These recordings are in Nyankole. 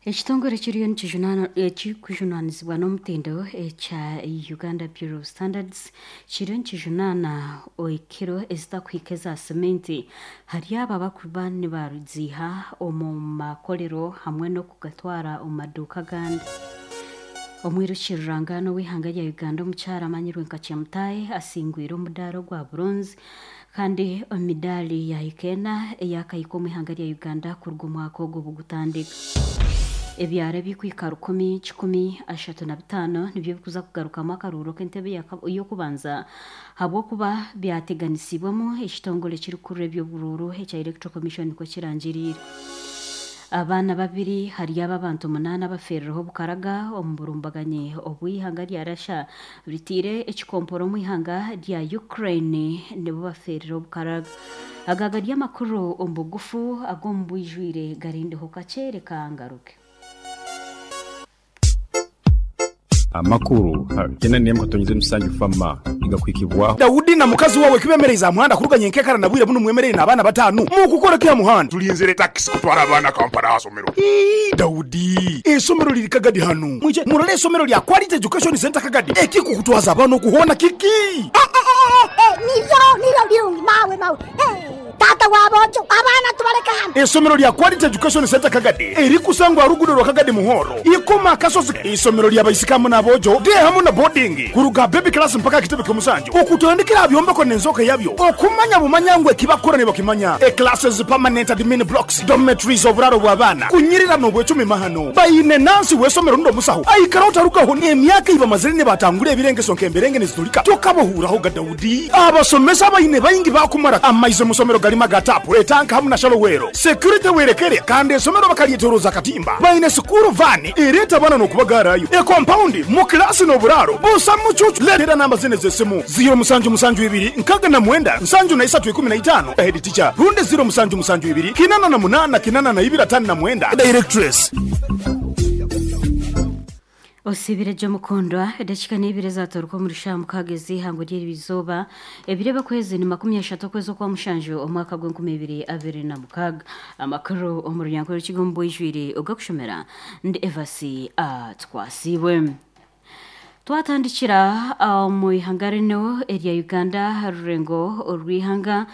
Ekitongore kiriyo ekirikujunaanizibwa n'omutindo ekya Uganda Bureau of Standards kiriyo nikijunaana ekiro ezitakuhika eza seminti ahari abo abarikuba nibaziiha omu makorero hamwe n'okugatwara omu maduuka agandi. Omwiruki rurangaanwa ow'eihanga rya Uganda omukyara amanyirwe nka Chemutai asingwire omudaara ogwa buronzi kandi emidaari yaahika ena eyakahika omu ihanga rya Uganda kuruga omwaka ogu obu gutandika. Ebyaro ebirikwika 1,135 nibyo birikuza kugarukamu akaruuru k'entebe y'okubanza ahabw'okuba byateganisibwemu ekitongore ekirikukurira eby'oburuuru ekya Electoral Commission nikwo kirangiriire. Abaana babiri ahari abo abantu munaana abafeerireho obukaraga omu burumbaganyi obu eihanga rya Russia riteire ekikompora omu ihanga rya Ukraine nibo bafeerire obukaraga. Aga gari amakuru omu bugufu ag'omu bwijwire garindeho kakye reka ngaruke. Amakuru gena n'emwe katonyize musanju fama nigakuhikibwaho. Daudi na mukazi wawe kibemereize aha muhanda kuruga nyenkekara na bwire bunu mwemereire n'abaana batanu mukukora ki aha muhanda? Tulinzire takisi kutwara abaana Kampala aha somero. Ii, Daudi, eisomero liri Kagadi hanu. Mwije murole eisomero lya Quality Education Centre Kagadi. Ekikukutwaza abaana oku hoona kiki? Niryo, niryo birungi mawe, mawe. Taata wa boojo, abaana tubaleke hanu. Eisomero lya Quality Education Centre Kagadi erikusangwa aha ruguudo rwa Kagadi Muhoro, Ikoma Akasozi. Eisomero lya baisiki hamu n'aboojo, day hamu na boarding, kuruga aha baby class mpaka aha kitebe ky'omusanju, okutandikira aha byombeko n'enzooka yabyo, okumanya bumanya ngu eki bakukora nibakimanya. E Classes, permanent admin blocks, dormitories, oburaaro bw'abaana, kunyirira n'obwecumi mahano. Baine nansi w'eisomero rundi omusaho aikara otarugaho n'emyaka ei bamazire nibatangura ebirengeso nk'emberenge niziturika tokabahuuraho ga Daudi. Abasomesa abaine baingi baakumara amaizi omu somero garimu aga taapu, etanka hamu na shallow well. Security werekere kandi eisomero bakaryetoroza akatimba. Baine sikuuru vaani ereeta abaana n'okubagaarayo, ekompaundi, mu kilaasi n'oburaaro busa mucuucu. Leetera namba zinu ez'esimu, ziiro musanju musanju ibiri 69 73 15, Head teacher, rundi ziiro musanju musanju ibiri 88 82 59, Directress. Osiibire gye omukundwa, edakiika n'eibiri ezaatooreka omuri shaaha mukaaga ez'eihangwe ry'eriizooba, ebiro eby'okwezi ni 30 okwezi okwamushanju omwaka gw'enkumi ibiri abiri na mukaaga. Amakuru omu Runyankore Rukiga omu bwijwire ogakushomera ndi Evasi Atwasiibwe. Twatandikira omu ihanga rinu erya Uganda aha rurengo orw'eihanga,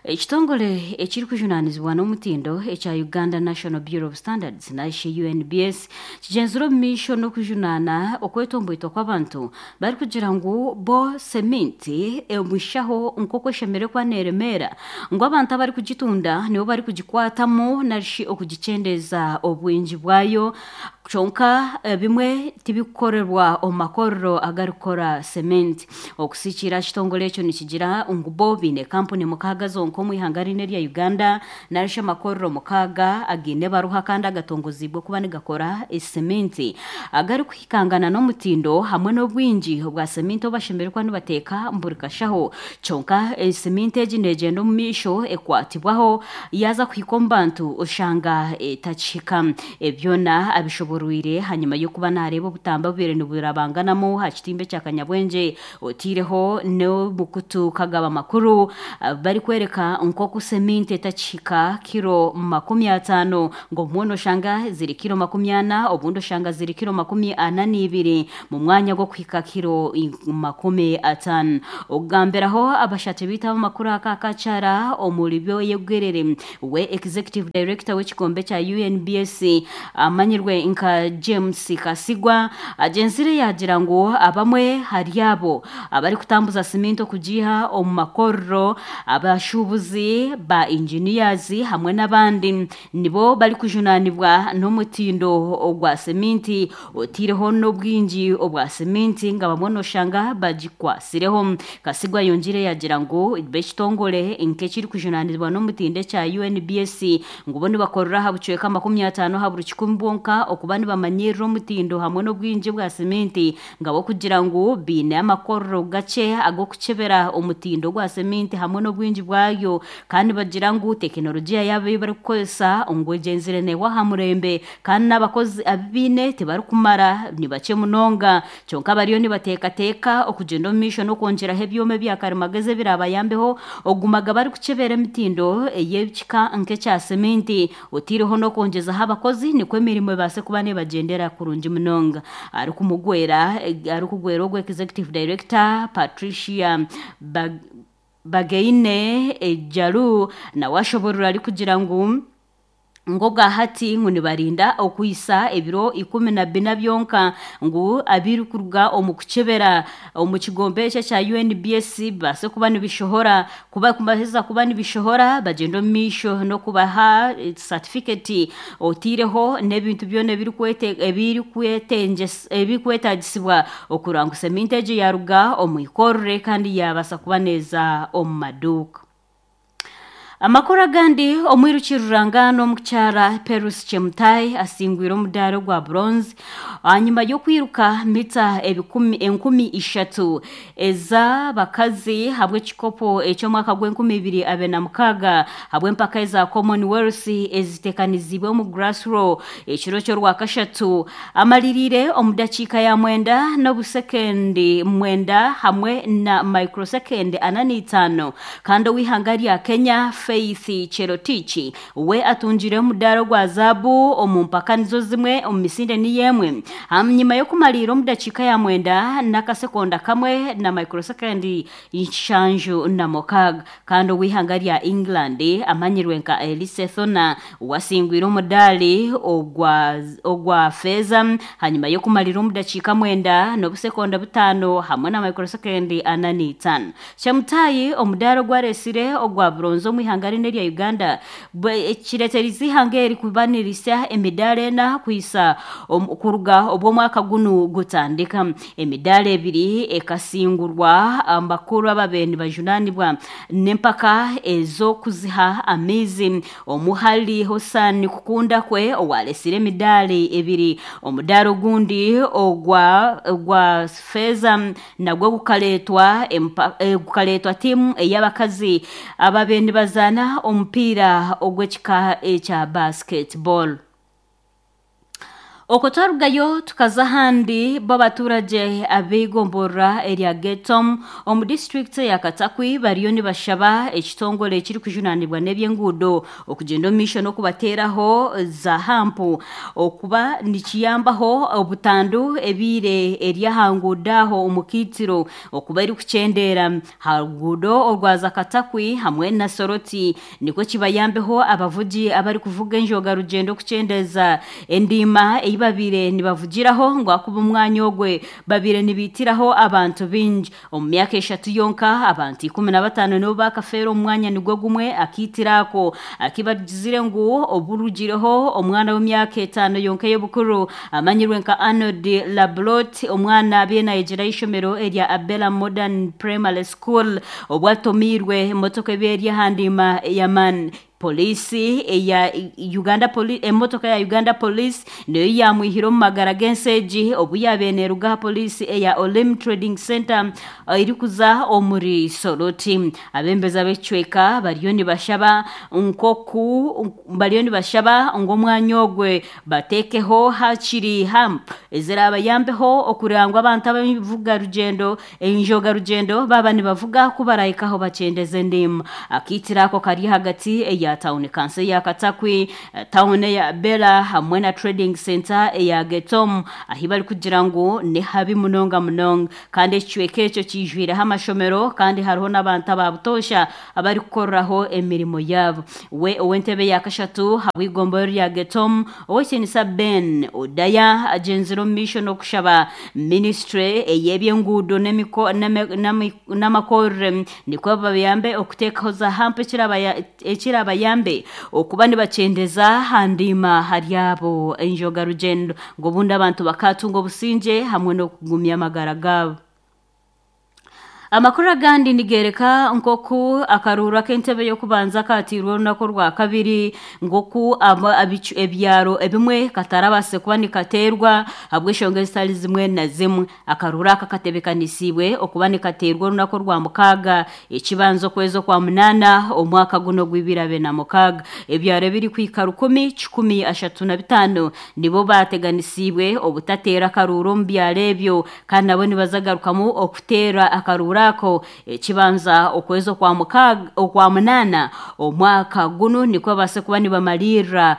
ekitongore ekirikujunaanizibwa n'omutindo ekya Uganda National Bureau of Standards narishi UNBS kigyenzire omu maisho n'okujunaana okwetomboitwa kw'abantu barikugira ngu bo seminti omushaho nk'oku eshemereire kuba neeremeera ngu abantu abarikugitunda nibo barikugikwatamu narishi okugikyendeeza obwingi bwayo Kyonka ebimwe tibikukorerwa omu makorero agarikukora cement. Okusikiira aha kitongore ekyo nikigira ngu bo baine kampuni mukaaga zonka omu ihanga rinu erya Uganda narishi amakorero mukaaga againe ebaruha kandi agatongoziibwe kuba nigakora cement agarikuhikangana n'omutindo hamwe n'obwingi bwa cement obu bashemereire kuba nibateeka buri kashaho. Kyonka cement egi negyenda omu maisho ekwatibwaho yaaza kuhika omu bantu oshanga etakihika. Ebi byona abishoborwire hanyima y'okuba naareeba obutambi obubaire niburabanganamu aha kitimba ekya Kanyabwengye otaireho n'omukutu kagaba makuru barikworeka nk'oku seminti etakihika kiro 50 ngu obumwe noshanga ziri kiro 40 obundi oshanga ziri kiro 42 mu mwanya gw'okuhika kiro 50. Okugambiraho abashatu beitu ab'amakuru aka akakyara omuri Byoyegwerere We Executive Director w'ekigombe kya UNBS amanyirwe nka James Kasigwa agyenzire yaagira ngu abamwe hari abo abarikutambuza siminti okugiiha omu makorero, abashuubuzi, ba engineers hamwe n'abandi nibo barikujunaanibwa n'omutindo ogwa siminti otaireho n'obwingi obwa siminti nga bamwe noshanga bagikwatsireho. Kasigwa ayongiire yaagira ngu b'ekitongore nk'ekirikujunaanizibwa n'omutindo ekya UNBS ngu bo nibakorera aha bucweka 50 aha buri kikumi bwonka okuba. kuba nibamanyirira omutindo hamwe n'obwingi bwa seminti ngabo kugira ngu biine amakorero gakye ag'okukyebera omutindo gwa seminti hamwe n'obwingi bwayo kandi bagira ngu tekinologiya yaabo ei barikukozesa ngu egyenzire neewa aha murembe kandi n'abakozi abu biine tibarikumara ni bakye munonga kyonka bariyo nibateekateeka okugyenda omu maisho n'okwongyeraho ebyoma ebya karimagezi ebirabayambeho ogumaga barikukyebera emitindo ey'ekika nk'ekya seminti otiireho n'okwongyezaho abakozi nikwo emirimo ebaase kuba nebagyendera kurungi munonga arikumugwera arikugwera ogwo executive director Patricia Bag Bagaine Ejalu nawe ashoborora arikugira ngu ng'obwahati ngu nibarinda okwisa ebiro 14 byonka ngu abirikuruga omu kukyebera omu kigombe ekyo ekya UNBS bibaase kuba nibishohora kuba kumaheza kuba nibishohora bagyenda omu maisho n'okubaha certificate otiireho n'ebintu byona ebirikwetagisibwa okurora ngu seminti egyo yaruga omu ikorere kandi yabaasa kuba neeza omu maduuka. Amakuru agandi omwiruki rurangano omukyara Perus Chemutai asingwire omudaara ogwa bronze hanyuma y'okwiruka mita ebikumi enkumi ishatu ez'abakazi habw'ekikopo eky'omwaka gw'enkumi ibiri abiri na mukaaga habw'empaka eza Commonwealth ezitekanizibwe omu Glasgow ekiro ky'orwakashatu amaliriire omu dakiika ya mwenda n'obusekendi mwenda hamwe na microsekendi ana n'itaano kandi ow'ihanga rya Kenya Faith Cherotich we atungire omudaara ogwa zaabu omu mpaka nizo zimwe omu misinde niyo emwe hanyuma y'okumaliira omu dakiika ya mwenda n'akasekonda kamwe na microsekendi nshanju na mukaaga kandi ow'ihanga rya England amanyirwe nka Elise Thona wasingwire omudaari ogwa ogwa feeza hanyuma y'okumalira omu dakiika mwenda n'obusekonda butaano hamwe na microsekendi ana n'itaano Chemutai omudaari ogwareesire ogwa bronze omu ihanga rine erya Uganda kireeterize ihanga eri kuba nirisya emidaara ena kwisa kuruga obw'omwaka gunu gutandika emidaara ebiri ekasingurwa abakuru ababaire nibajunaanibwa n'empaka ez'okuziha amaizi omuhali Hossan Kukunda kwe owaresire emidaari ebiri omudaara ogundi ogwa ogwa feeza nagwo gukareetwa gukareetwa tiimu ey'abakazi ababaire nibazaana omupiira ogw'ekika ekya basketball. Okwo twarugayo tukaza ahandi bo abaturage ab'eigomborora erya Getom omu disitulikiti ya Katakwi bariyo nibashaba ekitongore ekirikujunaanibwa n'ebyenguudo okugyenda omu maisho n'okubateeraho za hampu okuba nikiyambaho obutandu ebiire eri aha nguudo aho omu kaitiro okuba erikukyendeera ha ruguudo orwaza Katakwi hamwe na Soroti nikwo kibayambeho abavugi abarikuvuga enjoga rugyendo okukyendeeza endiima ei babiire nibavugiraho ngu ahakuba omwanya ogwe babiire nibiitiraho abantu baingi omu myaka eshatu yonka abantu 15 nibo bakafeera omu mwanya nigwo gumwe akaitiro ako akibagizire ngu oburugireho omwana w'emyaka etaano yonka ey'obukuru amanyirwe nka Arnold Lablot omwana abiire nayegyera ishomero erya Abela Modern Primary School obwatomiirwe emotoka ebiire eri aha ndiima ya man polisi eya Uganda Police emotoka ya Uganda Police niyo yamwihire omu magara g'ensi egi obu yabaire neeruga aha polisi eya Olim Trading Center erikuza omuri Soroti abembezi ab'ekicweka bariyo nibashaba nkoku bariyo nibashaba ngu omwanya ogwe bateekeho hakiri hamp ezirabayambeho okureba ngu abantu abavuga rugyendo enjoga rugyendo baba nibavuga ku barahikaho bakyendeza endiima akaitiro ako kari ahagati eya town council ya Katakwi town eya Bela hamwe na trading center eya Getom ahi barikugira ngu ni habi munonga munonga kandi ekicweka ekyo kijwireho amashomero kandi hariho n'abantu ababutoosha abarikukoreraho emirimo yaabo we ow'entebe ya kashatu habw'igomboro rya Getom owekinisa Ben Odaya agyenzire omu maisho n'okushaba ministry ey'ebyenguudo n'amakorere nikwo babayambe okuteekaho za hampu ekirabayambe okuba nibakyendeza aha ndiima hari abo enjoga rugyendo ngu obundi abantu bakatunga obusingye hamwe n'okugumya amagara gaabo. Amakuru agandi nigereka nkoku akaruuru ak'entebe y'okubanza katiirwe orunaku orwa kabiri, nkoku ebyaro ebimwe katarabase kuba nikateerwa ahabw'enshonga ezitari zimwe na zimwe. Akaruuru aka katebekanisiibwe okuba nikateerwa orunaku orwa mukaaga ekibanza okwezi okwa munaana omwaka guno gw'ibiri abiri na mukaaga. Ebyaro ebirikwika 1,135 nibo bateganisiibwe obutateera akaruuru omu byaro ebyo, kandi nabo nibazagarukamu okuteera akaruuru ako ekibanza okwezi okwa munaana omwaka guno, nikwo babaase kuba nibamalirira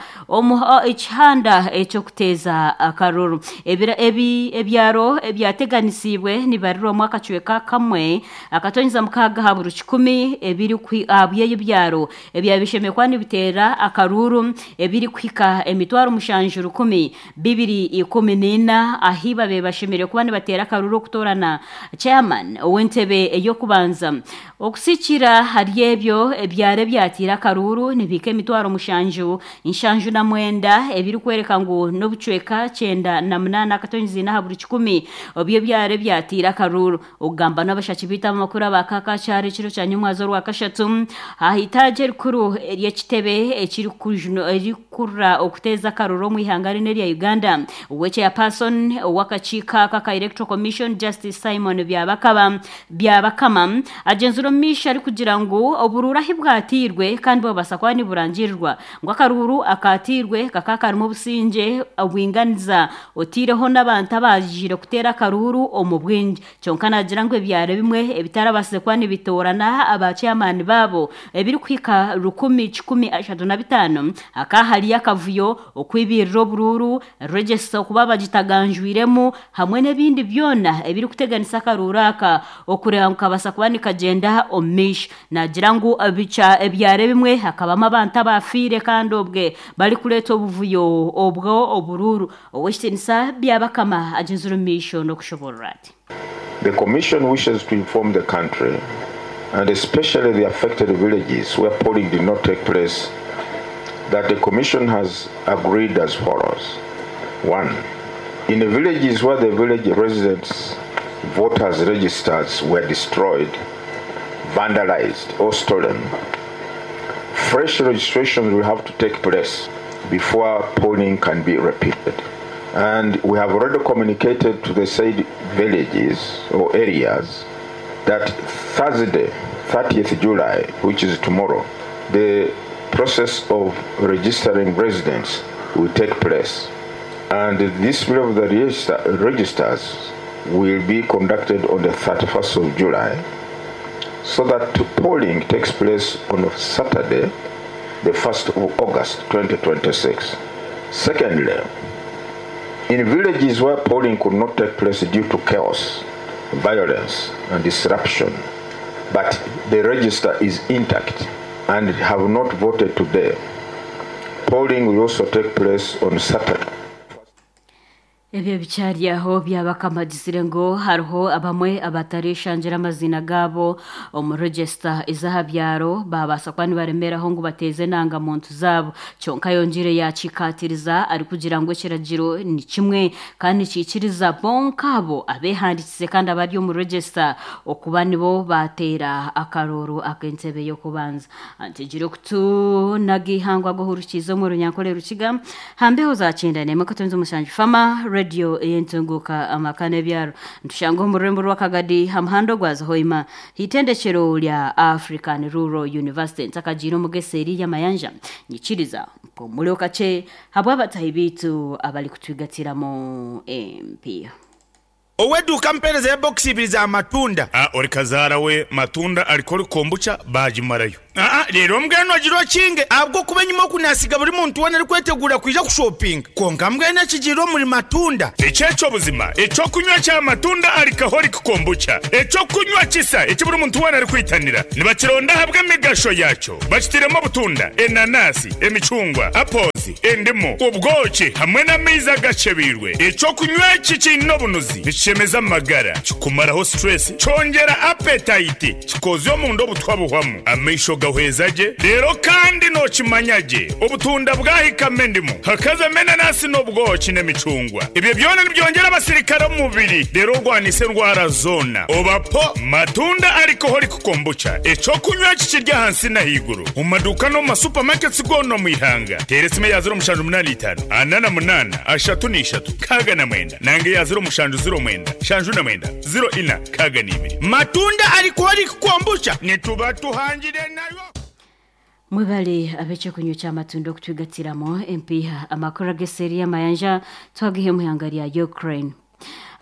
ekihanda eky'okuteeza akaruru. Ebyaro ebyateganisiibwe nibarirwamu akacweka kamwe akatonyeza mukaaga aha buri kikumi ebiri ahabw'ebyo byaro ebyabishemeye kuba nibiteera akaruru ebirikuhika 7,214 ahi babe bashemereire kuba nibateera akaruru okutoorana chairman ow'entebe ey'okubanza. Okusikira hari ebyo ebyaro ebyatiire akaruru nibihika 7,079 ebirikwereka ngu n'obucweka 98 akatonyeza ina aha buri kikumi oby'ebyaro ebyatiire akaruru. Okugamba n'abashaki baitu amakuru abakakakyaro ekiro kya nyomwazo orwa kashatu aha itaagi erikuru ery'ekitebe ekirikukurura okuteeza akaruru omu ihanga rino erya Uganda, owe-chairperson ow'akakiiko aka aka Electoral Commission Justice Simon Byabakama agyenzire omu maisho arikugira ngu oburuuru ahi bwatiirwe kandi bwabaasa kuba niburangirirwa ngu akaruuru akatiirwe kakaba karimu obusingye obwinganiza otaireho n'abantu abagiire kuteera akaruuru omu bwingi. Kyonka naagira ngu ebyaro ebimwe ebitarabaasize kuba nibitoorana aba chairman baabo ebirikuhika 1,135 hakaba hariyo akavuyo, okwibirira oburuuru, register okuba bagitaganjwiremu hamwe n'ebindi byona ebirikuteganisa akaruuru aka okureeba ngu kabaasa kuba nikagyenda omu maisho. Naagira ngu ebyaro ebimwe hakabamu abantu abafiire kandi obwe barikureeta obuvuyo obwo oburuuru. Ow'ekitiinisa Byabakama agyenzire omu maisho n'okushoboorora ati. The Commission wishes to inform the country, and especially the affected villages where polling did not take place, that the Commission has agreed as follows. 1. In the villages where the village residents' voters' registers were destroyed, vandalized, or stolen, fresh registrations will have to take place before polling can be repeated. And we have already communicated to the said villages or areas that Thursday, 30th July, which is tomorrow, the process of registering residents will take place. And this bill of the registers will be conducted on the 31st of July, so that polling takes place on Saturday, the 1st of August 2026. Secondly, in villages where polling could not take place due to chaos, violence, and disruption, but the register is intact and have not voted today, polling will also take place on Saturday. Ebyo bikyari aho, Byabakama agizire ngu hariho abamwe abatareshangira amaziina gaabo omu register ez'aha byaro babaasa kuba nibaremeraho ngu bateeze enangamuntu zaabo. Kyonka ayongiire yaakikatiriza arikugira ngu ekiragiro ni kimwe kandi nikiikiriza bonka abo abeehandiikize kandi abari omu register okuba nibo baateera akaruuru ak'entebe y'okubanza. Ntegire okutu n'agaihangwe ag'ohurukiize omu Runyankore Rukiga hambeho za 91.7 Fama Radio ey'entunguuka amaka n'ebyaro. Nitushanga omu rurembo rw'Akagadi ha muhanda ogwaza Hoima hitendekero rya African Rural University. Ntakagiire omu Geseeri y'amayanja nyikiriza mpumure kakye habw'abatahi baitu abarikutwigatiramu empiiha. Ow'eduuka mpeereza ya bokisi ibiri za matunda. A Ori kazaara we matunda arikori kombucha baagimarayo. Aa Reero mbwenu ogire okinge ahabw'okuba enyima oku naasiga buri muntu weena arikweteguura kwija kushopinga. Kwonka mbwenu ekigiire omuri matunda. Eki eky'obuzima, eky'okunywa kya matunda alcoholic kombucha, eky'okunywa kisa eki buri muntu weena arikwitanira. Nibakironda ahabw'emigasho yaakyo. Bakitairemu obutunda, enanasi, emicungwa, apples, endimu, obwoki hamwe n'amaizi agakyebeirwe. Eky'okunywa eki kiine obunuzi, nikishemeza amagara, kikumaraho stress, kyongyera appetite, kikoozya omunda obutwa buhwamu, amaisho ga. Nigahweza gye reero kandi nookimanya gye obutunda bwahikamu endimu, hakazamu enanasi n'obwoki n'emicungwa. Ebyo byona nibyongyera abasirikare omu mubiri reero orwanise endwara zoona. Oba po! Matunda Alcoholic Kombucha, eky'okunywa eki kiri ahansi n'ahaiguru omu maduuka n'omu ma supermarkets goona omu ihanga. Teera esimu eya 0785 48 33 69 nanga eya 0709 79 04 62. Matunda Alcoholic Kombucha nituba tuhangire nayo. Mwebale ab'ekyokunywa ky'amatunda okutwigatiramu empiiha. Amakuru ag'eseeri y'amayanja twagiha omu ihanga rya Ukraine.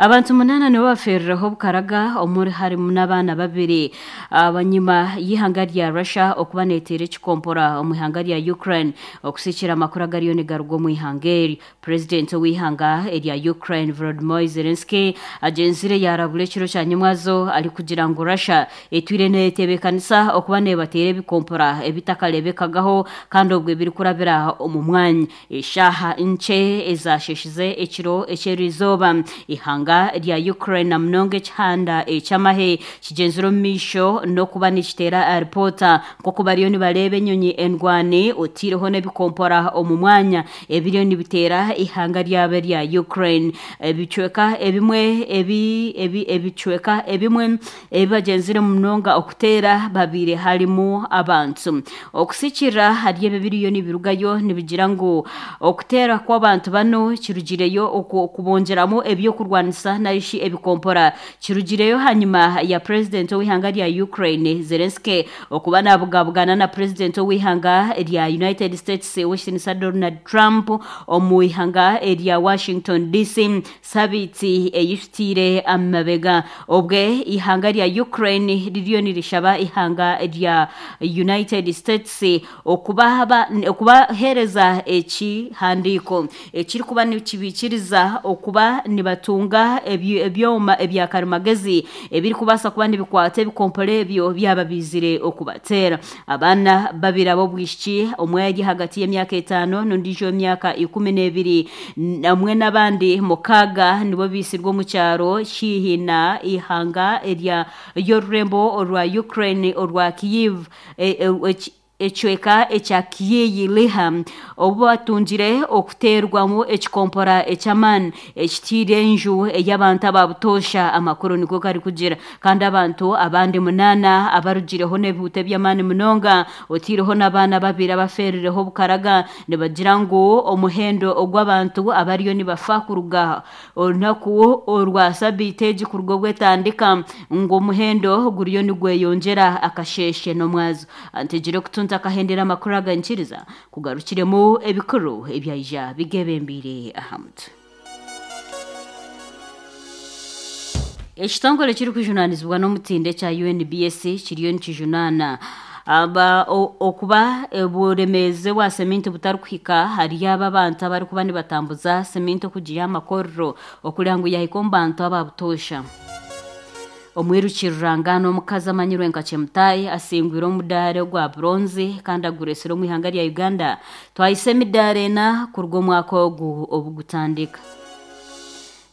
Abantu munaana nibo bafeerireho obukaraga omuri harimu n'abaana babiri abanyima y'ihanga rya Russia okuba neteera ekikompora omu ihanga rya Ukraine okusikira amakuru agariyo nigaruga omu ihanga eri. Purezidenti ow'eihanga erya Ukraine Volodymyr Zelensky agyenzire yaarabura ekiro kya nyimwazo arikugira ngu Russia etwire neetebeekanisa okuba neebateera ebikompora ebitakareebekagaho kandi obwo ebirikurabira omu mwanya. Eshaaha nkye ezaasheeshize ekiro eky'eriizooba, eihanga rya Ukraine na munonga ekihanda eky'amahe kigyenzire omu maisho n'okuba nikiteera ripoota nk'oku bariyo nibareeba enyonyi endwani otaireho n'ebikompora omu mwanya ebiriyo nibiteera eihanga ryabo erya Ukraine. Ebicweka ebimwe ebi ebi ebicweka ebimwe ebi bagyenzire munonga okuteera babaire harimu abantu. Okusikirira ahari ebi ebiriyo nibirugayo nibigira ngu okuteera kw'abantu banu kirugireyo okubongyeramu eby'okurwanisa narishi ebikompora kirugireyo hanyima ya purezidenti ow'eihanga rya Ukraine Zelensky okuba nabugabugana na purezidenti ow'eihanga rya United States ow'ekitiinisa Donald Trump omu ihanga erya Washington DC sabiiti eyihitiire amabega. Obwe eihanga rya Ukraine ririyo nirishaba eihanga rya United States okubaheereza ekihandiiko ekirikuba nikibaikiriza okuba nibatunga ebyoma ebya karimagezi ebirikubaasa kuba nibikwata ebikompora ebyo byaba biizire okubateera. Abaana babiri ab'obwishiki, omwe ari ahagati y'emyaka etaano n'ondiijo w'emyaka 12 hamwe n'abandi mukaaga nibo baitsirwe omu kyaro haihi na eihanga erya ry'orurembo orwa Ukraine orwa Kyiv ekicweka ekya Kyiyi Liha obu batungire okuteerwamu ekikompora eky'amaani ekitiire enju ey'abantu aba butoosha amakuru nikwo garikugira. Kandi abantu abandi munaana abarugireho n'ebihuta eby'amaani munonga otaireho n'abaana babiri abafeerireho obukaraga nibagira ngu omuhendo ogw'abantu abariyo nibafa kuruga orunaku orwa sabiiti egi kuruga obu etandika ngu omuhendo guriyo nigweyongyera akasheeshe n'omwazo. Antegire okutunta akahendera amakuru aga nkiriza kugarukiremu ebikuru ebyaija bigebembeire aha mutwe. Ekitongore ekirikujunaanizibwa n'omutindo ekya UNBS kiriyo nikijunaana aba okuba oburemeezi bwa seminti butarikuhika ahari abo abantu abarikuba nibatambuza seminti okugiiha aha makorero okureba ngu yaahika omu bantu aba butoosha. Omwiruki rurangaanwa omukazi amanyirwe nka Chemutai asingwire omudaari ogwa buronzi kandi agureetsire omu ihanga rya Uganda. Twahisa emidaari ena kuruga omwaka ogu obu gutandika.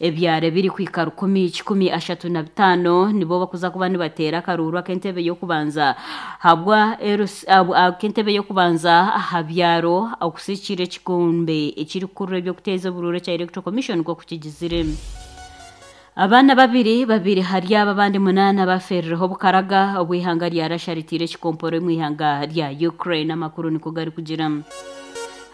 Ebyaro ebirikuhika rukumi kikumi ashatu na bitaano nibo bakuza kuba nibateera akaruuru ak'entebe y'okubanza habwa ak'entebe y'okubanza aha byaro okusikira ekikombe ekirikukurura eby'okuteeza oburuuru ekya Electoral Commission nk'oku kigizire. Abaana babiri babiri hari abo abandi munaana bafeerireho obukaraga obu eihanga rya Russia riteire ekikomporo omu ihanga rya Ukraine, amakuru nikwo garikugira.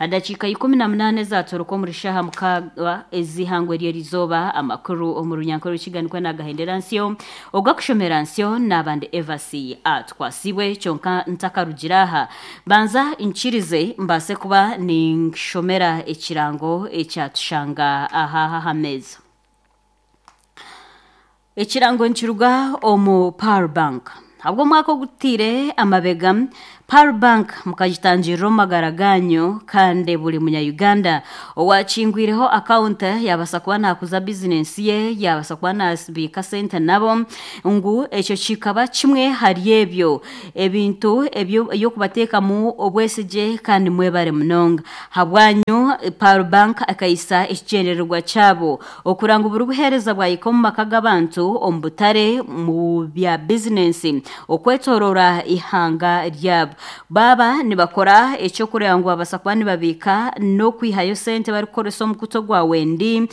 Aha dakiika 18 ezatoroka omuri shaaha mukaaga ez'eihangwe ry'erizooba, amakuru omu runyankore rukiga nikwo nagahendera nsyo. Ogakushomera nsyo naaba ndi Evasi Atwasibwe kyonka ntakarugire aha, banza nkirize mbaase kuba ninshomera ekirango ekyatushanga aha aha meeza. Ekirango nikiruga omu Pearl Bank. Ahabw'omwaka ogutaire amabega, Pearl Bank mukagitangirira omu magara gaanyu kandi buri munya-Uganda owaakingwireho akawunti yaabaasa kuba naakuza bizinensi ye, yaabaasa kuba naabiika sente nabo, ngu ekyo kikaba kimwe ahari ebyo ebintu eby'okubateekamu obwesigye kandi mwebare munonga. Ahabwanyu, Pearl Bank ekaisa ekigyendererwa kyabo Okuranga buri buheereza bwahika omu maka g'abantu, omu butare, omu bya bizinensi. Okwetooroora eihanga ryabo. Baaba nibakora eky'okureeba ngu babaasa kuba nibabiika n'okwihayo sente barikukoresa omukutu ogwa Wendi,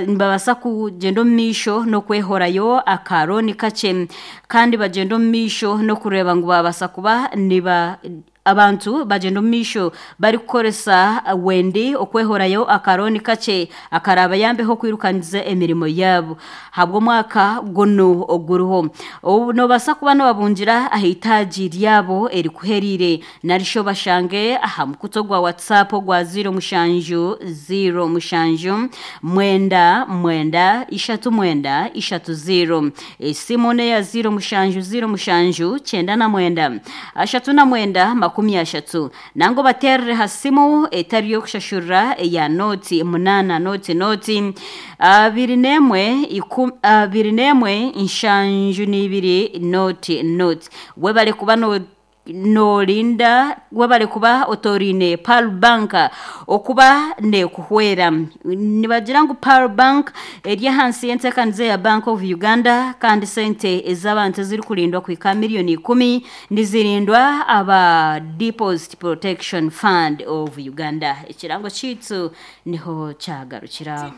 nibabaasa kugyenda omu maisho n'okwehorayo akarooni kakye kandi bagyenda omu maisho n'okureeba ngu baabaasa kuba niba abantu bagyenda omu maisho barikukoresa Wendi okwehorayo akarooni kakye akaraabayambeho kwirukangiza emirimo yaabo ahabw'omwaka gunu oguriho. Obu noobaasa kuba noobabungira aha itaagi ryabo erikuhereire nari shi obashange aha mukutu ogwa WhatsApp ogwa 07 07 9 9 3 9 3 0. Esimu n'eya 07 07 99 39 30. Nangwa obateerere ha simu etari y'okushashurira eya nooti 8 nooti nooti 21 21 72 nooti nooti. Webare kuba no noorinda webare kuba otooriine Pearl Bank okuba neekuhwera. Nibagira ngu Pearl Bank eri ahansi y'enteekaniza ya Bank of Uganda kandi sente ez'abantu ezirikurindwa kuhika miriyoni ikumi nizirindwa aba Deposit Protection Fund of Uganda. Ekirango kyaitu niho kyagarukira.